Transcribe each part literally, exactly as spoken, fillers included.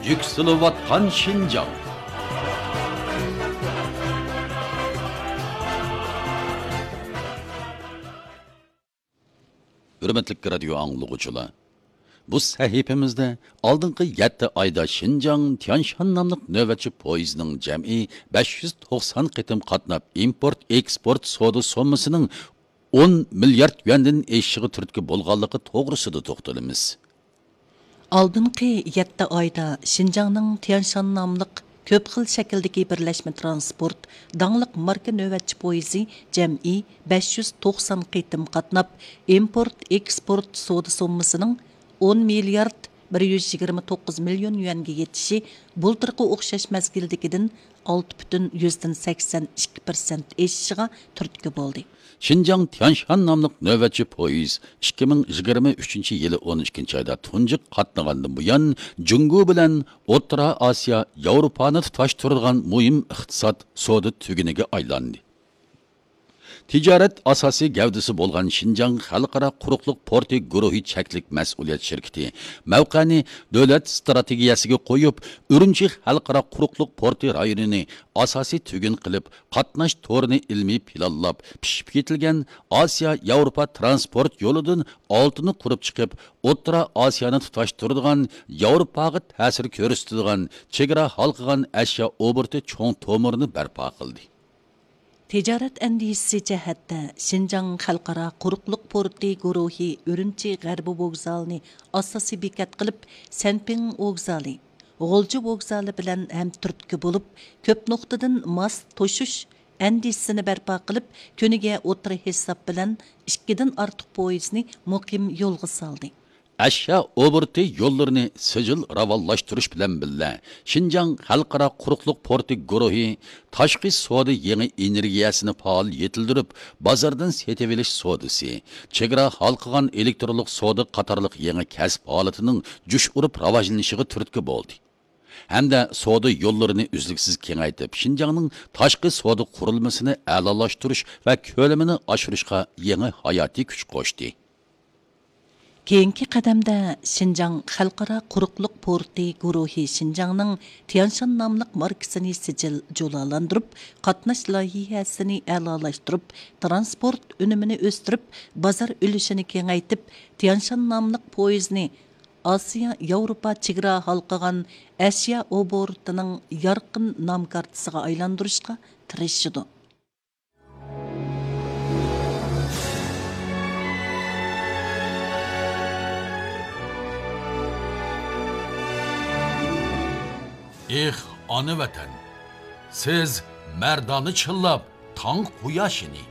يۈكسىلىۋاتقان شىنجاڭ. ھۆرمەتلىك رادىيو ئاڭلىغۇچىلار، بۇ سەھىپىمىزدە ئالدىنقى يەتتە ئايدا شىنجاڭ تيانشان ناملىق نۆۋەتچى پويىزنىڭ جەمئىي بەش يۈز توقسان قېتىم قاتناپ، ئىمپورت ئېكسپورت سودا سوممىسىنىڭ ئون مىليارد يۈەندىن ئېشىشىغا تۈرتكە بولغانلىقى توغرىسىدا توختىلىمىز. ئالدىنقى يەتتە ئايدا شىنجاڭنىڭ تيانشان ناملىق كۆپ خىل شەكىلدىكى بىرلەشمە ترانسپورت داڭلىق ماركا نۆۋەتچى پويىزى جەمئىي بەش يۈز توقسان قېتىم قاتناپ، ئىمپورت ئېكسپورت سودا سوممىسىنىڭ ئون مىليارد بىر يۈز يىگىرمە توققۇز مىليون يۈەنگە يېتىشى بۇلتۇرقى ئوخشاش مەزگىلدىكىدىن ئالتە پۈتۈن يۈزدىن سەكسەن ئىككى پىرسەنت ئېشىشىغا تۈرتكە بولدى. شىنجاڭ تيانشان ناملىق نۆۋەتچى پويىز ئىككى مىڭ يىگىرمە ئۈچىنچى يىلى ئون ئىككىنچى ئايدا تۇنجى قاتنىغاندىن بۇيان، جۇڭگو بىلەن ئوتتۇرا ئاسىيا، ياۋروپانى تۇتاشتۇرىدىغان مۇھىم ئىقتىساد سودا تۈگۈنىگە ئايلاندى. تىجارەت ئاساسىي گەۋدىسى بولغان شىنجاڭ خەلقئارا قۇرۇقلۇق پورتى گۇرۇھى چەكلىك مەسئۇلىيەت شىركىتى مەۋقەنى دۆلەت ئىستراتېگىيەسىگە قويۇپ، ئۈرۈمچى خەلقئارا قۇرۇقلۇق پورتى رايونىنى ئاساسىي تۈگۈن قىلىپ، قاتناش تورىنى ئىلمىي پىلانلاپ، پىشىپ يېتىلگەن ئاسىيا ياۋروپا ترانسپورت يولىدىن ئالتىنى قۇرۇپ چىقىپ، ئوتتۇرا ئاسىيانى تۇتاشتۇرىدىغان، ياۋروپاغا تەسىر كۆرسىتىدىغان، چېگرا ھالقىغان ئەشيا ئوبوروتى چوڭ تومۇرىنى بەرپا قىلدى. تىجارەت ئەندىزىسى جەھەتتە شىنجاڭ خەلقئارا قۇرۇقلۇق پورتى گۇرۇھى ئۈرۈمچى غەربىي ۋوگزالىنى ئاساسىي بېكەت قىلىپ، سەنپىڭ ۋوگزالى، غۇلجا ۋوگزالى بىلەن ھەمتۈرتكە بولۇپ، كۆپ نۇقتىدىن ماس توشۇش ئەندىزىسىنى بەرپا قىلىپ، كۈنىگە ئوتتۇرا ھېساب بىلەن ئىككىدىن ئارتۇق پويىزنى مۇقىم يولغا سالدى. ئەشيا ئوبوروتى يوللىرىنى سىجىل راۋانلاشتۇرۇش بىلەن بىللە، شىنجاڭ خەلقئارا قۇرۇقلۇق پورتى گۇرۇھى تاشقى سودا يېڭى ئېنېرگىيەسىنى پائال يېتىلدۈرۈپ، بازاردىن سېتىۋېلىش سودىسى، چېگرا ھالقىغان ئېلېكترونلۇق سودا قاتارلىق يېڭى كەسىپ ھالىتىنىڭ جۇش ئۇرۇپ راۋاجلىنىشىغا تۈرتكە بولدى. ھەمدە سودا يوللىرىنى ئۈزلۈكسىز كېڭەيتىپ، شىنجاڭنىڭ تاشقى سودا قۇرۇلمىسىنى ئەلالاشتۇرۇش ۋە كۆلىمىنى ئاشۇرۇشقا يېڭى ھاياتىي كۈچ قوشتى. كېيىنكى قەدەمدە شىنجاڭ خەلقئارا قۇرۇقلۇق پورتى گۇرۇھى شىنجاڭنىڭ تيانشان ناملىق ماركىسىنى سىجىل جۇلالاندۇرۇپ، قاتناش لايىھەسىنى ئەلالاشتۇرۇپ، ترانسپورت ئۈنۈمىنى ئۆستۈرۈپ، بازار ئۈلۈشىنى كېڭەيتىپ، تيانشان ناملىق پويىزنى ئاسىيا ياۋروپا چېگرا ھالقىغان ئەشيا ئوبوروتىنىڭ يارقىن نام كارتىسىغا ئايلاندۇرۇشقا تىرىشىدۇ. ئېھ، ئانا ۋەتەن! سىز مەردانە چىللاپ تاڭ قۇياشىنى،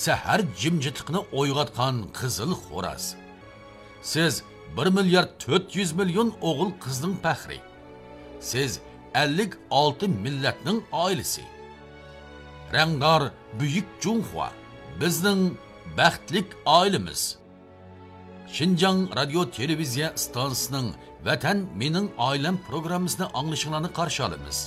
سەھەر جىمجىتلىقىنى ئويغاتقان قىزىل خوراز. سىز بىر مىليارد تۆت يۈز مىليون ئوغۇل قىزنىڭ پەخرى. سىز ئەللىك ئالتە مىللەتنىڭ ئائىلىسى. رەڭدار بۈيۈك جۇڭخۇا، بىزنىڭ بەختلىك ئائىلىمىز. شىنجاڭ رادىيو تېلېۋىزىيە ئىستانسىسىنىڭ ۋەتەن مېنىڭ ئائىلەم پروگراممىسىنى ئاڭلىشىڭلارنى قارشى ئالىمىز.